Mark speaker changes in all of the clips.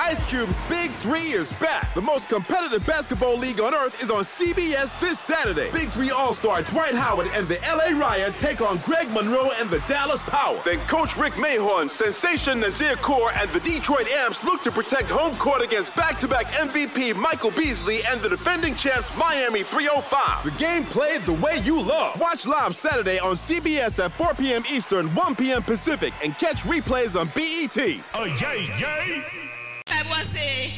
Speaker 1: Ice Cube's Big Three is back. The most competitive basketball league on earth is on CBS this Saturday. Big Three All Star Dwight Howard and the LA Riot take on Greg Monroe and the Dallas Power. Then Coach Rick Mahorn, Sensation Nazir Kaur, and the Detroit Amps look to protect home court against back to back MVP Michael Beasley and the defending champs Miami 305. The game played the way you love. Watch live Saturday on CBS at 4 p.m. Eastern, 1 p.m. Pacific, and catch replays on BET.
Speaker 2: Oh, yay, yay!
Speaker 3: Bible se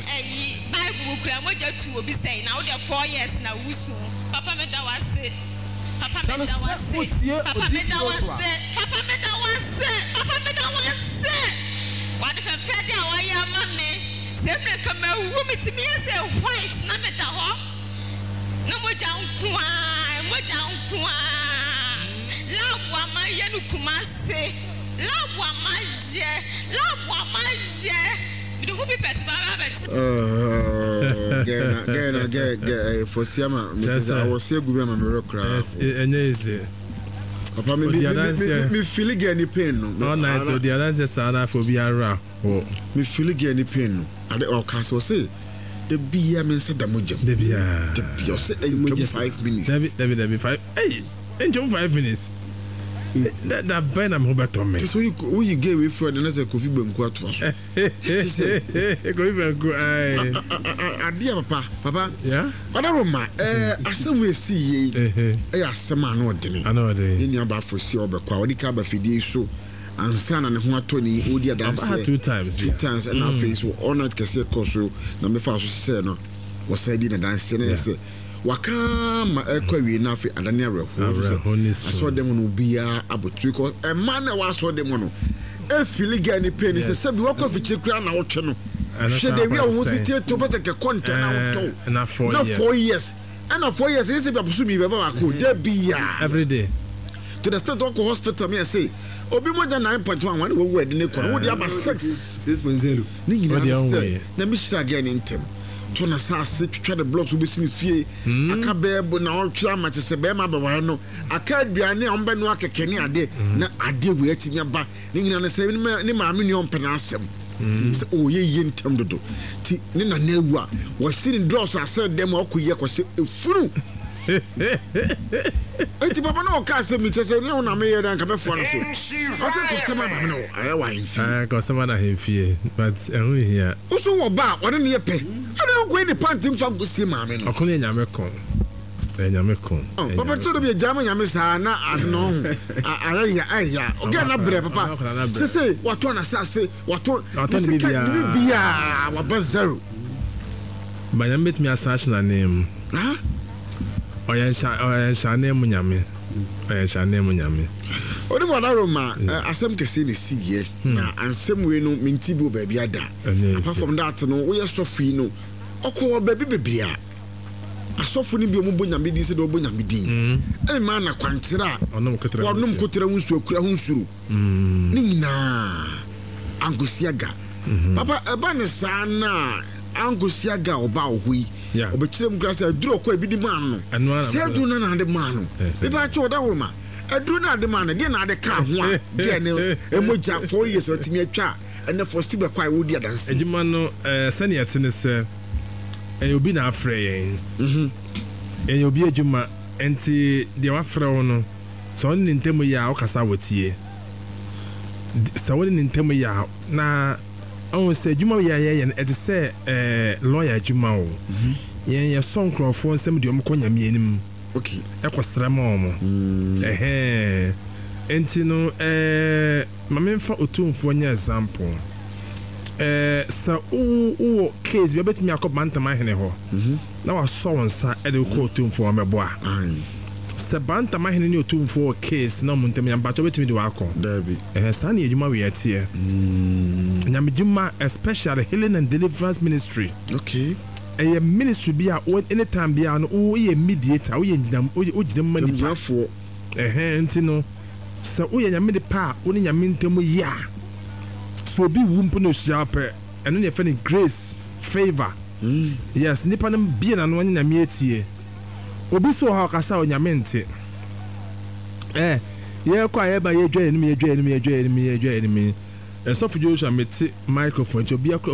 Speaker 3: ɛyi bible kura mogya tu obi sɛn na wode 4 years na wusu. Papa, meda wase. Papa,
Speaker 4: Kyane
Speaker 3: meda
Speaker 4: sɛ
Speaker 3: wase.
Speaker 4: wotie
Speaker 3: Papa, meda
Speaker 4: Odiyifo Joshua.
Speaker 3: wase. Papa, meda wase. Papa, meda wase. Wade fɛfɛ de a wayɛ ama me sɛ mmerɛ ka mawu, metumi yɛ sɛ white na meda hɔ na mogya nko a, mogya nko a. Lab a mayɛ no Kumase, lab a mayɛ, lab a mayɛ, mede ho bi pɛsɛ ba abɛkyɛ.
Speaker 5: Gɛna gɛna gɛ gɛ fɔsiama mete sɛ awɔse agu bi ama merɛ koraa.
Speaker 6: Ɛnyɛ easy.
Speaker 5: Papa, me
Speaker 6: Odi
Speaker 5: me
Speaker 6: adanseɛ.
Speaker 5: me feel gɛ ni pain no.
Speaker 6: All night odi adanseɛ saa na afɔ obi ara hɔ.
Speaker 5: Me feel gɛ ni pain no. Ade ɔka sɛ ɔse da bia me nsa da mogya mu.
Speaker 6: Da biara.
Speaker 5: Da bia ɔsɛ ɛntwam 5 minutes.
Speaker 6: Dabi, dabi, dabi, five ɛyi ntwam 5 minutes da da bɛn na me ho bɛtɔ me?
Speaker 5: Kyɛ sɛ woyi gɛ wei firi ɔde na sɛ Kofi Banku atoa so.
Speaker 6: Kofi Banku ayi.
Speaker 5: Adeɛ papa papa.
Speaker 6: Yeah.
Speaker 5: Ɔdaroma asɛm wo esi yie ɛyɛ asɛm a ano ɔdene.
Speaker 6: Ano ɔdene.
Speaker 5: Ne nua baafo si ɔbɛkɔ a ɔde ka aba fidie yi so ansa na ne ho atɔ ne ɔdi
Speaker 6: Ɔba ha
Speaker 5: adanseɛ.
Speaker 6: two times.
Speaker 5: Two times, ɛna afei so all night kɛseɛ kɔ so na mefa so sɛ no wɔsan di n'adanseɛ na yɛ sɛ waka ma ɛkɔ awie na afei adane awerɛhoɔ.
Speaker 6: Awerɛhoɔ ne su.
Speaker 5: Asɔɔdan mu no obiara abɔtiri because ɛma na ɛwɔ asɔɔdan mu no e feel gɛ ne pain sɛ sɛbi wakɔ afikyire koraa na wotwe no.
Speaker 6: Ɛno
Speaker 5: hwɛ
Speaker 6: saa
Speaker 5: de wi a
Speaker 6: akɔ
Speaker 5: wo ho si
Speaker 6: sɛn?
Speaker 5: tie to bɛsɛ kɛkɔ ntɛn na wotɔw.
Speaker 6: Na 4
Speaker 5: na
Speaker 6: years.
Speaker 5: 4 years, ɛna 4 years ɛyɛ sɛ bi aboso mi bɛba baako da bi a.
Speaker 6: Every day.
Speaker 5: To the extent ɔkɔ hospital mi yɛ sɛ obi mogya 9.1 wɔn wɔwu ɛde ne kɔ no wodi aba 6.
Speaker 4: 6.0.
Speaker 5: Ne nyinaa
Speaker 6: Wode
Speaker 5: ne
Speaker 6: ɔnwɔ
Speaker 5: sɛ
Speaker 6: yɛ.
Speaker 5: Na mi hyira gɛ ne ntɛm to na saase twitwa ne blocks wobɛsi ne fie aka bɛɛ bo na ɔtwe ama kyɛ sɛ bɛrima bɛware no aka aduane a ɔmbɛnoa kɛkɛ ne ade na ade wei atumi aba. Ne nyinaa ne sɛ ne maame nua ɔmpɛ n'asɛm sɛ ɔyɛ yie ntɛm dodo ti ne nana awu a wɔsi ne dɔɔso asɛ dɛm a ɔkɔ yie akɔhyɛ efunu. Eti papa na ɔka asɛm mi kyɛ sɛ ne ho na meyɛ dɛ nka bɛfoa no so ɔsɛ kɔsɛm ama me no ayɛ wɔ ahemfie.
Speaker 6: Ah, kɔsɛm ana ahemfie, but ɛho hia.
Speaker 5: Woso wɔ ba a ɔne ne yɛ pɛ ɛna nkɔ yi ne panty mfa nkɔsie maame no.
Speaker 6: Ɔko no yɛ Nyame ko, ɛyɛ Nyame ko.
Speaker 5: Oh,
Speaker 6: Ɛyɛ
Speaker 5: papa
Speaker 6: Nyame
Speaker 5: tí o de bi gya ma Nyame saa na ano ho ayɛ ya ayɛ ya ɔgɛ na brɛ papa.
Speaker 6: Ɔno akwadaa na brɛ.
Speaker 5: Sese watɔ n'asase, watɔ
Speaker 6: Watɔ
Speaker 5: ne
Speaker 6: ne
Speaker 5: sika
Speaker 6: biribiara.
Speaker 5: ne biribiara waba zero.
Speaker 6: Ba Nyame bɛtumi asan ahyɛ n'anan mu.
Speaker 5: Ha.
Speaker 6: Ɔyɛ nhyɛ mu Nyame, ɔyɛ nhyɛ mu Nyame.
Speaker 5: Odifo Adaroma, asɛm kɛseɛ na esi yɛ na ansɛm wei no menti bi wɔ baabi ada.
Speaker 6: Ɛnyɛ
Speaker 5: apart
Speaker 6: easy.
Speaker 5: From that no, woyɛ sɔfo yi no ɔkɔ baabi bebree a asɔfo no bi a wɔbɔ Nyame din sɛ deɛ wɔbɔ Nyame din ɛmma na kwankyerɛ a
Speaker 6: ɔnom kotra ho
Speaker 5: wɔnom
Speaker 6: nsuo.
Speaker 5: Kotra ho nsuo, akura ho nsuro ne nyinaa ankosi aga. Papa, ɛba ne saa na ankosi aga a ɔba wɔ hɔ yi ɔbɛkyerɛ mu kora sɛ aduru ɔkɔ ebi de maa no.
Speaker 6: Ɛno ara na
Speaker 5: sɛ aduru no na ade maa no. Mepa kyɛ ɔda ma aduru no ade maa no deɛ na ade ka ho a deɛ ne ɛmɔgya 4 years a ɔtumi atwa a ɛnɛ fɔsti bɛkɔ a ɛwɔdi adanse.
Speaker 6: Adwuma no sɛnea ɛte ne sɛ ɛyɛ obi na afrɛ yɛn. Ɛyɛ obi adwuma, nti deɛ wafrɛ wo no sɛ ɔne ne ntam yɛ a wokasa a wɔtie. Sɛ wone ne ntam yɛ a na ɔhu sɛ adwuma yɛ a yɛyɛ no ɛte sɛ lawyer adwuma o. Yɛn yɛsɔ nkurɔfoɔ nsɛm deɛ ɔmokɔ Nyame anim ɛkɔsrɛ ma ɔmo. Ɛhɛn, nti no ma memfa Otumfoɔ nyɛ example. Sɛ wowɔ case bi a wobɛtumi akɔ Bantam ahene hɔ na wasɔ wo nsa de wokɔ Otumfoɔ hɔ mɛboa. Sɛ Bantam ahene ne Otumfoɔ wɔ case na ɔmo ntam yɛ mpakyɛ, wobɛtumi de wakɔ?
Speaker 5: Daabi.
Speaker 6: Ɛhɛ, saa ne adwuma wei ɛteɛ. Nyamedwuma, especially healing and deliverance ministry, ɛyɛ ministry bi a anytime biara no woyɛ mediator, woyɛ ngyina, wogyina mu ma nipa.
Speaker 5: Gyinafoɔ.
Speaker 6: Ɛhɛn, nti no sɛ woyɛ Nyame nipa a wo ne Nyame ntam yɛ a, sɛ obi wu mpo na ohyia wo pɛ, ɛno ne yɛfrɛ no grace, favour. Yes, nipa no bie n'ano ɔne Nyame atie. Obi so wɔ hɔ a ɔkasa a Onyame nte. Yɛkɔ a yɛba, yɛdwa yɛnim, yɛdwa yɛnim, yɛdwa yɛnim, yɛdwa yɛnim. Ɛsɔfo Joshua mete microphone nti obi akora.